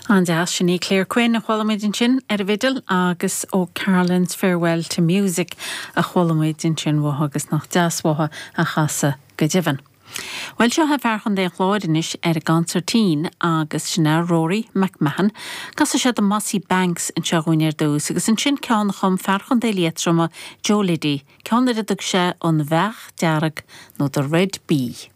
An-deas, sin í Claire Quinn a chuala muid ansin ar an bhfidil agus O'Carolan's Farewell to Music a chuala muid ansin uathu agus nach deas uathu a chasadh go deimhin. Bhuel, seo é fear Chontae an Chláir anois ar an gconsairtín agus sin é Rory McMahon. Casfaidh sé The Mossy Banks anseo dhúinn ar dtús agus ansin ceann a chum fear Chontae Liatroma, Joe Liddy, ceann ar a dtug sé An Bheach Dearg nó The Red Bee.